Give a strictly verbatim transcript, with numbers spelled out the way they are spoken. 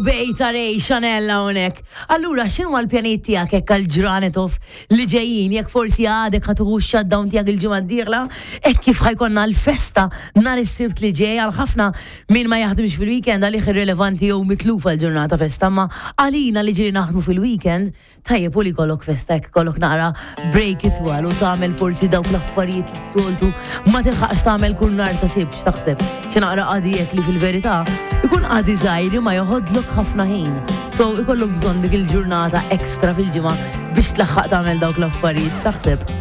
Bejta Ray Chanel hawnhekk. Allura, x'inhu l-pjanijiet tiegħek hekk għal-ġranet off li ġejjin, jekk forsi għadek ħa tieħu shutdown tiegħek il-ġimgħa d-dieħla, hekk kif ħa jkollna l-festa nhar is-Sibt li ġej? Għal ħafna min ma jaħdimx fil-weekend għalih irrelevanti jew mitlufa l-ġurnata festa, ma għalina li ġieli naħdmu fil-weekend, tajjeb u li jkollok festa, jekk kollok naqra break itwal u tagħmel forsi dawk l-affarijiet li s-soltu ma tilħaqx tagħmel kull nhar ta' Sibt, x'taħseb? Xi naqra qadijek li fil-verità ikun qadi żgħir ma joħodlok ħafna ħin. So ikollok bżonn dik il-ġurnata ekstra fil-ġimgħa biex tlaħħaq tagħmel dawk l-affarijiet, x'taħseb?